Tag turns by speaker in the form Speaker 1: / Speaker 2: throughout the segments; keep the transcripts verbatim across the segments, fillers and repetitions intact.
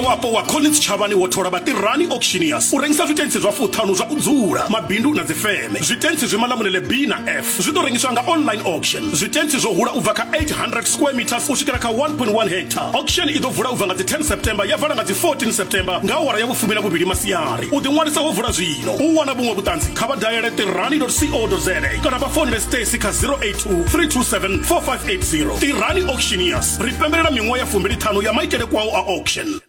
Speaker 1: Wapo wa Collins Chavani wo thola vha Tirani Auctioneers u rengisa zwitentsi zwa fuṱhanu zwa u dzula, mabindu na dzifeme. Zwitentsi zwi Malamulele B na F zwi ḓo rengiswa nga online auction. Zwitentsi zwo hula u bva kha eight hundred square meters u swikela kha one point one hectare. Auction i ḓo vula u bva nga dzi ten September ya vala nga dzi fourteen September nga awara ya vhufumi na vhuvhili masiari. U ḓiṅwalisa ho vula zwino. U wana vhuṅwe vhuṱanzi kha vha daele tirani dot co dot za kana vha founele Stacy kha zero eight two, three two seven, four five eight zero. Tirani Auctioneers ri pembelela miṅwaha ya fumbili ṱhanu ya maitele kwao a auction.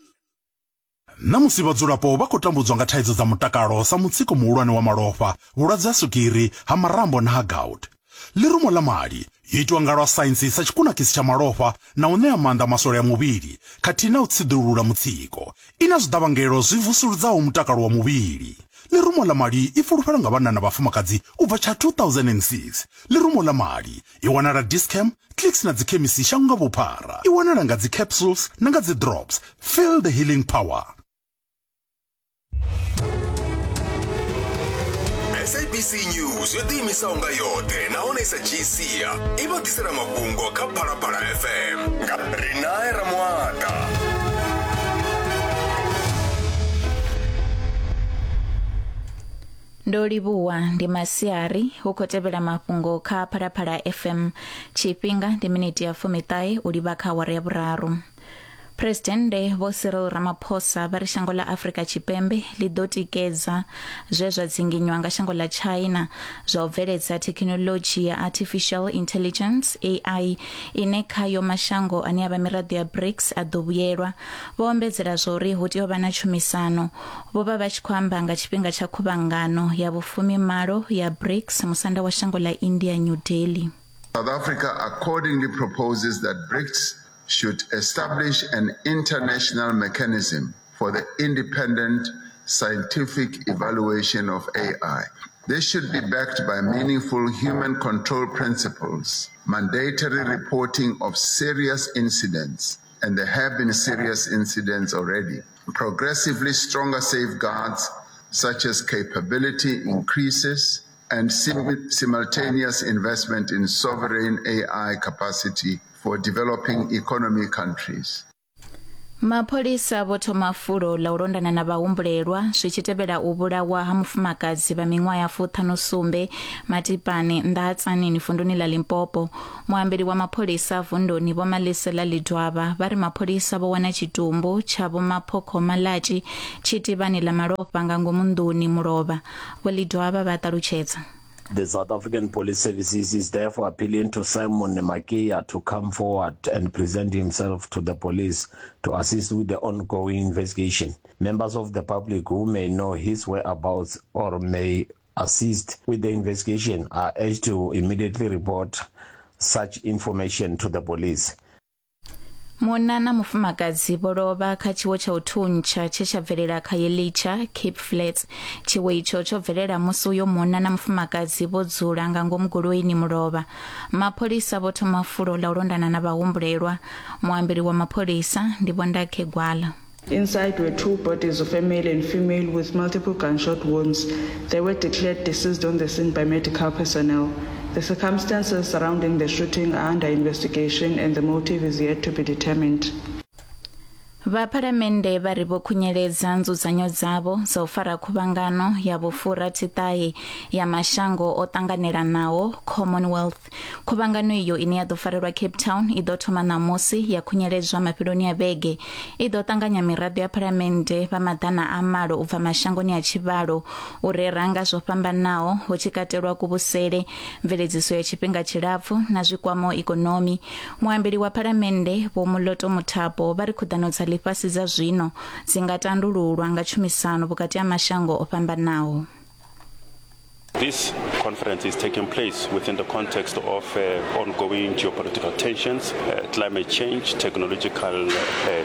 Speaker 2: Ṋamusi vhadzulapo vha khou tambudzwa nga thaidzo dza mutakalo sa mutsiko muhulwane wa malofha, vhulwadze ha swigiri, ha marambo na ha gout. Ḽirumo ḽa mali yo itwa nga lwa saintsi sa tshikunakisi tsha malofha na u ṋea maanḓa maswole a muvhili khathihi na u tsiḓulula mutsiko. I na zwiḓavhangelo zwi vusuludzaho mutakalo wa muvhili. Ḽirumo ḽa mali i fulufhelwa nga vhanna na vhafumakadzi u bva tsha two thousand and six. Ḽirumo ḽa mali i wanala Dischem, Clicks na dzikhemisi shango nga vhuphara. I wanala nga dzi capsules na nga dzi drops. Feel the healing power.
Speaker 3: S A B C News yo ḓiimisaho nga yoṱhe nahone sa G C i vha ḓisela mafhungo kha Phalaphala F M nga Rinae Ramuata.
Speaker 4: Ndo livhuwa ndi masiari hu khou tevhela mafhungo kha Phalaphala F M. Tshifhinga ndi miniti ya fumiṱahe u livha kha awara ya vhuraru. Presidennde Vho Cyril Ramaphosa vha ri shango ḽa Afrika Tshipembe ḽi ḓo tikedza zwe zwa dzinginywa nga shango ḽa China zwa u bveledza thekhinoḽodzhi ya artificial intelligence A I ine khayo mashango ane a vha miraḓo ya BRICS a ḓo vhuyelwa. Vho ombedzela zwa uri hu tea u vha na tshumisano. Vho vha vha tshi khou amba nga tshifhinga tsha khuvhangano ya vhufumimalo ya BRICS musanda wa shango ḽa India New Delhi.
Speaker 5: South Africa accordingly proposes that BRICS should establish an international mechanism for the independent scientific evaluation of A I. This should be backed by meaningful human control principles, mandatory reporting of serious incidents, and there have been serious incidents already, progressively stronger safeguards such as capability increases and sim- simultaneous investment in sovereign A I capacity for developing economy countries.
Speaker 4: Mapholisa vho thoma fulo ḽa u londana na vhahumbulelwa zwi tshi tevhela u vhulawa ha mufumakadzi vha miṅwaha ya fuṱhanu sumbe Matipane nnḓa ha Tzaneen vunduni ḽa Limpopo. Muambeli wa mapholisa vunduni Vho Malisela Lidwaba vha ri mapholisa vho wana tshitumbu tsha Vho Maphokho Malatji tshi tivhani ḽa malofha nga ngomu nḓuni mulovha. Vho Lidwaba vha ṱalutshedza.
Speaker 6: The South African Police Services is therefore appealing to Simon Makia to come forward and present himself to the police to assist with the ongoing investigation. Members of the public who may know his whereabouts or may assist with the investigation are urged to immediately report such information to the police.
Speaker 4: Munna na mufumakadzi vho lovha kha tshiwo tsha u thuntsha tshe tsha bvelela kha Yelitsha Cape Flats. Tshiwo itsho tsho bvelela musi uyo munna na mufumakadzi vho dzula nga ngomu goloini mulovha. Mapholisa vho thoma fulo ḽa u londana na vhahumbulelwa. Muambeli wa mapholisa ndi Vho Ndakhe Gwala.
Speaker 7: Inside were two bodies of a male and female with multiple gunshot wounds. They were declared deceased on the scene by medical personnel. The circumstances surrounding the shooting are under investigation and the motive is yet to be determined.
Speaker 4: Vha phalamennde vha ri vho khunyeledza nzudzanyo dzavho dza u fara khuvhangano ya vhufurathi-ṱahe ya mashango o ṱanganelanaho Commonwealth. Khuvhangano iyo ine ya ḓo farelwa Cape Town i ḓo thoma ṋamusi ya khunyeledzwa mafheloni a vhege. I ḓo ṱanganya miraḓo ya phalamennde vha maḓana a malo u bva mashangoni a tshivhalo u rera nga zwo fhambanaho hu tshi katelwa kuvhusele, mveledziso ya tshifhinga tshilapfu na zwikwamaho ikonomi. Muambeli wa phalamennde Vho Moloto Muthapo vha ri khuḓano dza ḽifhasi dza zwino dzi nga tandululwa nga tshumisano vhukati ha mashango o fhambanaho.
Speaker 8: This conference is taking place within the context of uh, ongoing geopolitical tensions, uh, climate change, technological uh,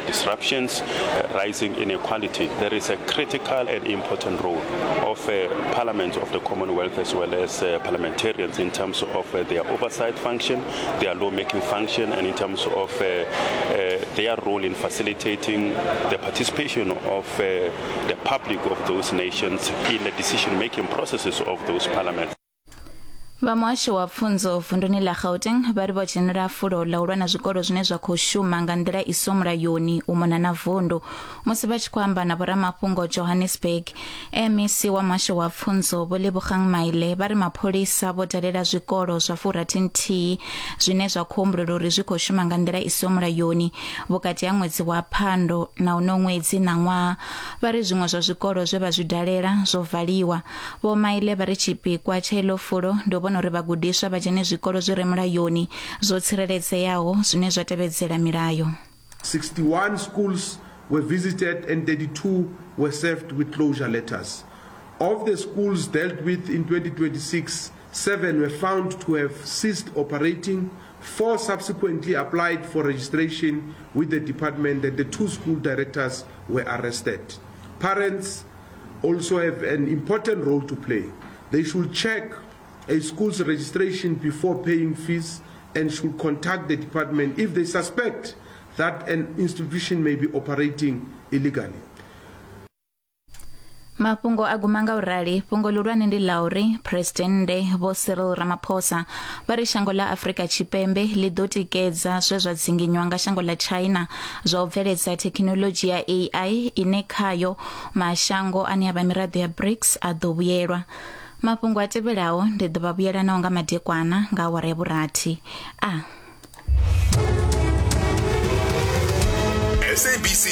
Speaker 8: disruptions, uh, rising inequality. There is a critical and important role of uh, Parliament of the Commonwealth as well as uh, parliamentarians in terms of uh, their oversight function, their lawmaking function, and in terms of uh, uh, their role in facilitating the participation of uh, the public of those nations in the decision-making processes of those parliaments.
Speaker 4: Vha muhasho wa pfunzo vunduni ḽa Gauteng vha ri vho dzhenela fulo ḽa u lwa na zwikolo zwine zwa khou shuma nga nḓila i so mulayoni u mona na vundu. Musi vha tshi khou amba na vhoramafhungo Johannesburg, M E C wa muhasho wa pfunzo Vho Lebogang Maile vha ri mapholisa vho dalela zwikolo zwa furathi-nthihi zwine zwa khou humbulelwa uri zwi khou shuma nga nḓila i so mulayoni vhukati ha ṅwedzi wa Phando na uno ṅwedzi na ṅwaha. Vha ri zwiṅwe zwa zwikolo zwe vha zwi dalela zwo valiwa. Vho Maile vha ri tshipikwa tsha iḽo fulo ndi u vhona uri vhagudiswa vha dzhene zwikolo zwi re mulayoni zwo tsireledzeaho zwine zwa tevhedzela milayo.
Speaker 9: sixty-one schools were visited and thirty-two were served with closure letters. Of the schools dealt with in twenty twenty-six, seven were found to have ceased operating, four subsequently applied for registration with the department, and the two school directors were arrested. Parents also have an important role to play. They should check a school's registration before paying fees and should contact the department if they suspect that an institution may be operating illegally.
Speaker 4: Mafhungo a guma nga u rali. Fhungo ḽihulwane ndi ḽa uri Presidennde Vho Cyril Ramaphosa vha ri shango ḽa Afrika Tshipembe ḽi ḓo tikedza zwe zwa dzinginywa nga shango ḽa China zwa u bveledza thekhinoḽodzhi ya A I ine khayo mashango ane a vha miraḓo ya BRICS a ḓo vhuyelwa. Mafhungo a tevhelaho ndi ḓo vha vhuyela nao nga madekwana nga awara ya vhurathi. A
Speaker 3: S A B C.